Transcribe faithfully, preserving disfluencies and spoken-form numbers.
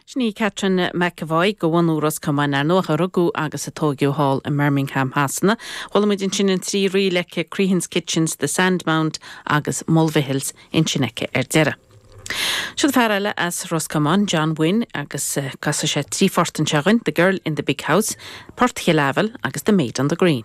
Sin í Catherine McEvoy de bhunadh Ros Comáin ar ndóigh a rugadh agus a tógadh thall i mBirmingham Shasana. Chuala muid ansin an trí ríl aici Crehan's Kitchens, The Sandmount agus Mulvihills ansin aici ar deireadh. Siod fear eile as Ros Comáin, John Wynne agus uh, casfaidh sé trí phort anseo dúinn, The Girl in the Big House, Port Chill Aibhil agus The Maid on the Green.